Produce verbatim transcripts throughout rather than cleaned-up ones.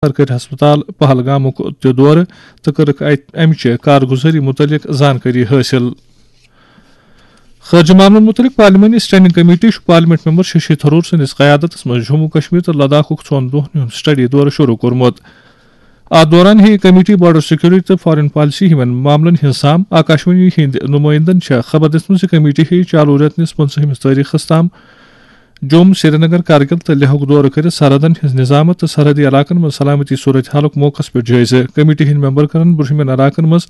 سرکٲرۍ ہسپتال پہلگامُک تہِ دورٕ تہٕ کٔرٕکھ اَتہِ اَمہِ چہِ کارگُزٲری مُتعلِق زانکٲری حٲصِل۔ خارجہ معاملن مُتعلِق پارلیمانی اسٹینڈنگ کمیٹی چھُ پارلیمنٹ ممبر ششی تھرور سٕنٛدِس قیادتس منٛز جموں کشمیر تہٕ لداخُک ژۄن دۄہن ہُنٛد سٹڈی دورٕ شروع کوٚرمُت۔ اَتھ دوران ہیٚیہِ کمیٹی بارڈر سیکورٹی تہٕ فارن پالیسی ہِوٮ۪ن معاملن ہٕنٛز سام۔ آکاشوانی ہٕنٛدۍ نُمٲیندن چھےٚ خبر دِژمٕژ زِ کمیٹی ہیٚیہِ چالوٗ رٮ۪تہٕ نِس پٕنٛژٕہمِس تٲریخس تام جوٚم، سرینگر، کرگِل تہٕ لیہُک دورٕ کٔرِتھ سرحدن ہٕنٛز نظامت تہٕ سرحدی علاقن منٛز سلامتی صورت حالُک موقعس پٮ۪ٹھ جٲیزٕ۔ کمیٹی ہٕنٛدۍ ممبر کرن برٛونٛہمٮ۪ن علاقن منٛز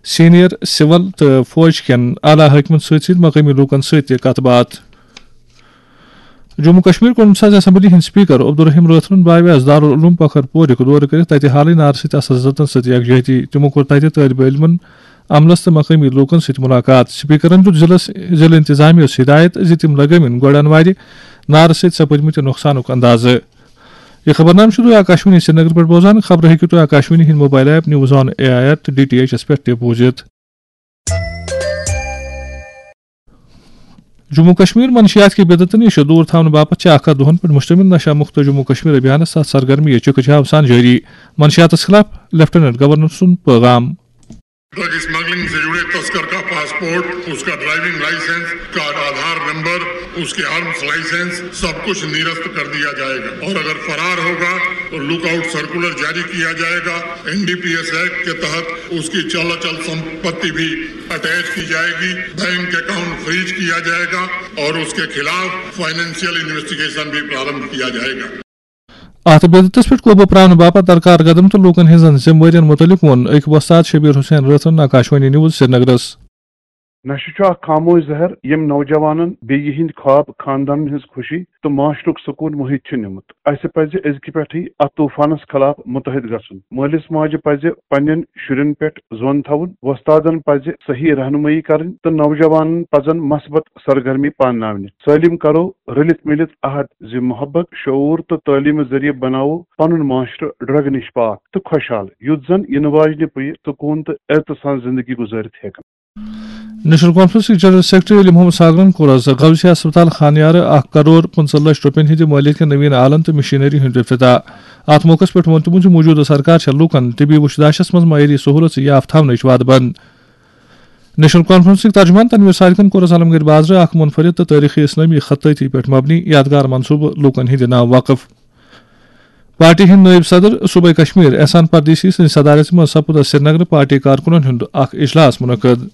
سینئر سول تہٕ فوج کٮ۪ن اعلیٰ حٲکمن سۭتۍ سۭتۍ مقٲمی لوٗکن سۭتۍ تہِ کتھ باتھ۔ جموں کشمیر کونسلس اسمبلی ہٕنٛدۍ سپیکر عبدالرحیم رٲتھرَن بایویس دارالعلوم پکھر پورُک دورٕ کٔرِتھ تتہِ حالٕے نارٕ سۭتۍ اثر زدن سۭتۍ یکجہتی۔ تِمو کوٚر تتہِ طٲلبہِ علمن، عملس تہٕ مقٲمی لوٗکن سۭتۍ مُلاقات۔ سپیکرن دیُت ضلعس، ضلعہٕ انتظامیہ یَس ہدایت زِ تِم لگٲوِن گۄڈٕ انوارِ نارٕ سۭتۍ سپدمٕتہِ نۄقصانُک اندازٕ۔ یہِ خبرنامہٕ چھُ تُہۍ آکاشوانی سرینگر پٮ۪ٹھ بوزان۔ خبرٕ ہیٚکِو تُہۍ آکاشوانی ہٕنٛدۍ mobile app news on A I R تہٕ ڈی ٹی ایچ یَس پٮ۪ٹھ تہِ بوٗزِتھ۔ جموں کشمیر منشیات کہِ بدعتن نِش دوٗر تھاونہٕ باپتھ چھِ اکھ ہتھ دۄہن پٮ۪ٹھ مشتمل نشہ مُکت جموں کشمیر ابھیانس تحت سرگرمی چکہ جام سان جٲری۔ منشیاتس خلاف لیفٹیننٹ گورنر سُنٛد پیغام۔ ڈرگ اسمگلنگ سے جڑے تسکر کا پاسپورٹ، اس کا ڈرائیونگ لائسنس، اس کا آدھار نمبر، اس کے آرمز لائسنس، سب کچھ نرست کر دیا جائے گا اور اگر فرار ہوگا تو لک آؤٹ سرکولر جاری کیا جائے گا۔ N D P S act کے تحت اس کی چل اچل سمپتی بھی اٹیچ کی جائے گی، بینک اکاؤنٹ فریز کیا جائے گا اور اس کے خلاف فائنینشیل انویسٹیگیشن بھی پرارمبھ کیا جائے گا۔ اتھ بدعتس پٮ۪ٹھ قوبوٗ پراونہٕ باپتھ درکار قدم تہٕ لوٗکن ہٕنٛزن ذمہٕ وٲرین مُتعلق ووٚن أکۍ وۄستاد شبیر حسین رٲتھرن آکاشوانی نیوز سرینگرس۔ نشہٕ چھُ اکھ خاموش زہر، ییٚمۍ نوجوانن بیٚیہِ یِہنٛدۍ خواب، خاندانن ہٕنٛز خوشی تہٕ معاشرُک سکوٗن مٔہِتھ چھُ نیومُت۔ اسہِ پزِ أزکہِ پٮ۪ٹھٕے اتھ طوفانس خلاف متحد گژھُن۔ مٲلِس ماجہِ پزِ پننٮ۪ن شُرٮ۪ن پٮ۪ٹھ زون تھاوُن، وۄستادن پزِ صحیح رہنمٲیی کرٕنۍ تہٕ نوجوانن پزن مثبت سرگرمی پانناونہِ۔ سٲلِم کرو رٔلِتھ مِلِتھ عہد زِ محبت، شعوٗر تہٕ تعلیٖمہٕ ذٔریعہٕ بناوو پنُن معاشرٕ ڈرگ نِش پاک تہٕ خۄشحال، یُتھ زن یِنہٕ واجنہِ پُیہِ سکوٗن تہٕ عزتہٕ سان زندگی گُزٲرِتھ ہیٚکن۔ نیشنل کانفرنسٕکۍ جنرل سیکرٹری علی محمد ساگرن کوٚر آز غوثیہ ہسپتال خانیارٕ اکھ کرور پٕنٛژٕہ لچھ رۄپین ہٕنٛدِ مٲلیت کٮ۪ن نوین آلن تہٕ مشینری ہُنٛد افتتاح۔ اتھ موقعس پٮ۪ٹھ ووٚن تِمو زِ موٗجوٗدٕ سرکار چھےٚ لوٗکن طبی وُچھ داشس منٛز معیٲری سہولژٕ یافتہٕ تھاونٕچ وعدٕ بنٛد۔ نیشنل کانفرنسٕکۍ ترجمان تنویر سالکن کوٚر آز علمگڑھ بازرٕ اکھ منفرد تہٕ تٲریخی اسلٲمی خطٲطی پٮ۪ٹھ مبنی یادگار منصوبہٕ لوٗکن ہٕنٛدِ ناوٕ وقف۔ پارٹی ہٕنٛدۍ نٲیِب صدر صوبے کشمیر احسان پردیسی سٕنٛزِ صدارت منٛز سپُد آز سرینگرٕ پارٹی کارکُنن ہُنٛد اکھ اجلاس منعقد۔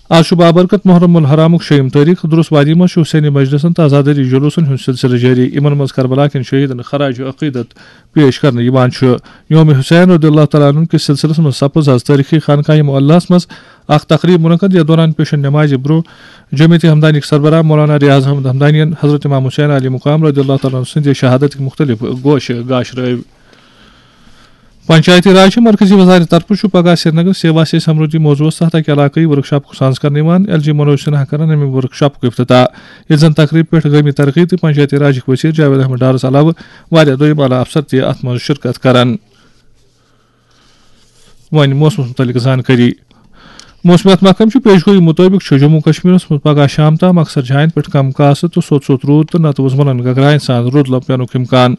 آز چھُ بابرکت محرم الحرامُک شیٚیِم تٲریخ۔ درُس وادی منٛز چھُ حسینی مجلسن تہٕ عزاداری جلوسن ہُنٛد سلسلہٕ جٲری۔ یِمن منٛز کربلا کٮ۪ن شہیدن خراج عقیدت پیش کرنہٕ یِوان چھُ۔ یوم حسین رضی اللہ تعالیٰ عنہ کِس سلسلس منٛز سپٕز آز تٲریخی خانقاہ معلیٰ ہس منٛز اکھ تقریب منعقد، یتھ دوران پیشن نمازِ برونٛہہ جمعیت ہمدانیک سربراہ مولانا ریاض احمد ہمدانین حضرت امام حسین علی مقام رضی اللہ تعالیٰ عنہ سٕنٛدِ شہادتٕکۍ مختلف گوشہٕ گاشرٲوۍ۔ پنچایتی راج چہِ مرکزی وزارت طرفہٕ چھُ پگاہ سرینگر سیوا سے سمردھی موضوعس تحت اکہِ علاقٲیی ورکشاپُک سانز کرنہٕ یِوان۔ ایل جی منوج سنہا کرن امہِ ورکشاپُک افتتاح۔ ییٚتہِ زن تقریبہِ پٮ۪ٹھ گٲمی ترقی تہٕ پنچایتی راجٕکۍ وزیر جاوید احمد ڈارس علاوٕ واریاہ دوٚیِم اعلیٰ افسر تہِ اتھ منٛز شرکت کرن۔ وۄنۍ موسمس مُتعلِق زانکٲری۔ موسمیات محکمہٕ چہِ پیشگویی مُطٲبِق چھُ جموں کشمیرس منٛز پگاہ شام تام اکثر جاین پٮ۪ٹھ کم کاسہٕ تہٕ سوٚت سوٚت روٗد تہٕ نتہٕ وُزملن گگراین سان روٗد لبہٕ پینُک امکان۔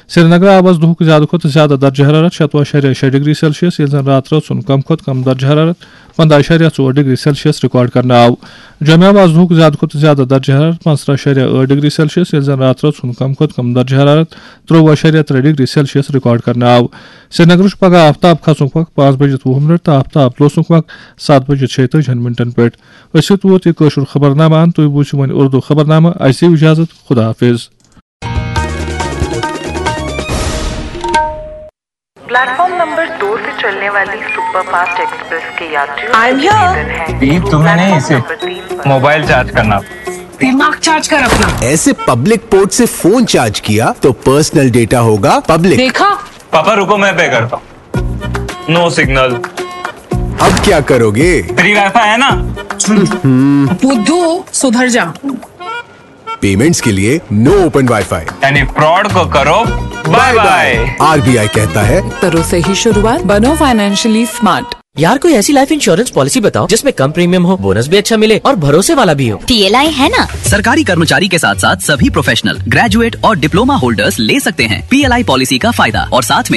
سرینگرٕ آو آز دُہُک زیادٕ کھۄتہٕ زیادٕ درجہ حرارت شتوُہ اعشاریہ شےٚ ڈگری سیلسیس، ییٚلہِ زن راتہٕ رٲژ ہُنٛد کم کھۄتہٕ کم درجہ حرارت پنٛداہ اعشاریہ ژور ڈگری سیلسیس ریکارڈ کرنہٕ آو۔ جوٚمہِ آو آز دُہُک زیادٕ کھۄتہٕ زیادٕ درجہ حرارت پانٛژترٕٛہ اعشاریہ ٲٹھ ڈگری سیلسیس، ییٚلہِ زن راتہٕ رٲژ ہُنٛد کم کھۄتہٕ کم درجہ حرارت ترٛۆوُہ اعشاریہ ترٛےٚ ڈگری سیلسیس ریکارڈ کرنہٕ آو۔ سرینگرٕ چھُ پگاہ آفتاب کھسنُک وقت پانٛژھ بجِتھ وُہ منٹ تہٕ آفتاب لوسنُک وقت ستھ بجِتھ شیٚیہِ تٲجِہن منٹن پٮ۪ٹھ۔ أسۍ ہیوٚت ووت یہِ کٲشُر خبرنامہٕ۔ اَن تُہۍ بوٗزِو وۄنۍ اُردو خبرنامہٕ۔ اَسہِ دِیِو اجازت۔ خدا حافظ۔ प्लेटफॉर्म नंबर दो से चलने वाली सुपरफास्ट एक्सप्रेस के यात्रियों I am here। निवेदन है, ये तुम्हें नहीं, प्लेटफॉर्म इसे नंबर तीन पर मोबाइल चार्ज करना। दिमाग चार्ज कर अपना। ऐसे पब्लिक पोर्ट से फोन चार्ज किया तो पर्सनल डेटा होगा पब्लिक। देखा? पापा रुको, मैं पे करता हूँ। No signal. अब क्या करोगे? फ्री वाईफाई है ना? बुद्धू, सुधर जा। पेमेंट्स के लिए नो ओपन वाईफाई। यानी फ्रॉड को करो बाय बाय। आरबीआई कहता है, करो सही शुरुआत, बनो फाइनेंशियली स्मार्ट। यार, कोई ऐसी लाइफ इंश्योरेंस पॉलिसी बताओ जिसमें कम प्रीमियम हो, बोनस भी अच्छा मिले और भरोसे वाला भी हो। पीएलआई है ना। सरकारी कर्मचारी के साथ साथ सभी प्रोफेशनल, ग्रेजुएट और डिप्लोमा होल्डर्स ले सकते हैं पीएलआई पॉलिसी का फायदा और साथ में